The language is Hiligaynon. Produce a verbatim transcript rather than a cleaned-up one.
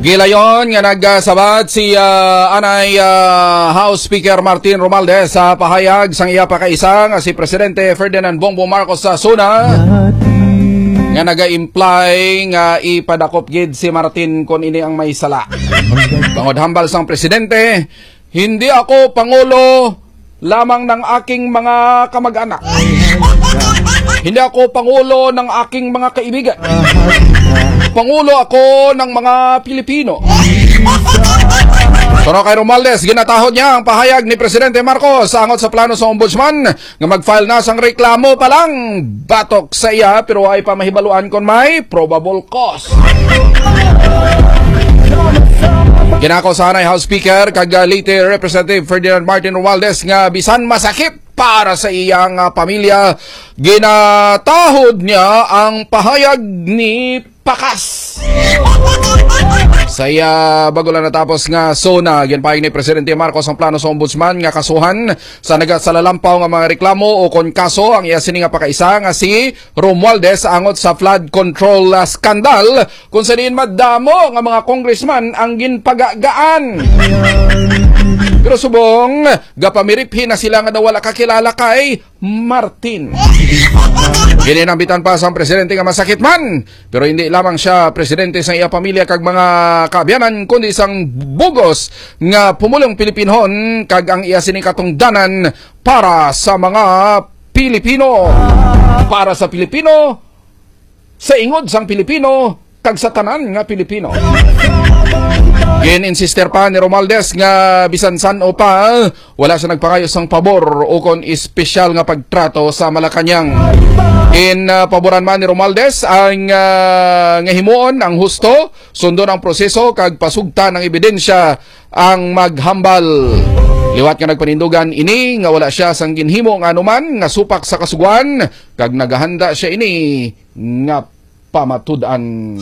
Gilayon nga nagsabat si, ah, anay, ah, House Speaker Martin Romualdez sa pahayag sang iya pakaisa nga si Presidente Ferdinand Bongbong Marcos sa SONA nga naga-imply nga ipadakop gid si Martin kon ini ang may sala. Bangod hambal sang presidente, "Hindi ako pangulo lamang ng aking mga kamag-anak. Hindi ako pangulo ng aking mga kaibigan. Pangulo ako ng mga Pilipino." Pero kay Romualdez, ginatahod niya ang pahayag ni Presidente Marcos angot sa plano sa ombudsman nga mag-file na sang reklamo pa lang batok sa iya, pero ay pa mahibaluan kon may probable cause. Ginako sa anay House Speaker kag, ah, Leyte Representative Ferdinand Martin Romualdez nga bisan masakit para sa iyang, ah, pamilya, ginatahod niya ang pahayag ni Pakas. Sa iya bago lang natapos nga SONA, ginpahayag ni Presidente Marcos ang plano sa ombudsman nga kasuhan sa nagasalalampa nga mga reklamo o kon kaso ang iya sini nga pakaisa nga si Romualdez angot sa flood control, ah, scandal, kung sa diin madamo nga mga congressman ang ginpagagaan. Pero subong, gapamiriphi na sila nga daw wala kakilala kay Martin. Gininambitan pa sang presidente nga masakit man, pero hindi lamang siya presidente sa iya pamilya kag mga kaabyanan, kundi sang bugos nga pumulong Pilipinhon kag ang iya sini katungdanan para sa mga Pilipino, para sa Pilipino, sa ingod sang Pilipino, kag sa tanan nga Pilipino. Gin-insister pa ni Romualdez nga bisan san-o pa, wala siya nagpangayo sang pabor o kon espesyal nga pagtrato sa Malacañang. Gin, ah, paboran man ni Romualdez ang, ah, nga himuon ang husto, sundon ang proseso kag pasugtan ang ebidensya ang maghambal. Liwat nga nagpanindugan ini nga wala siya sang ginhimo nga anuman nga supak sa kasugoan, kag nagahanda siya ini nga pamatud-an.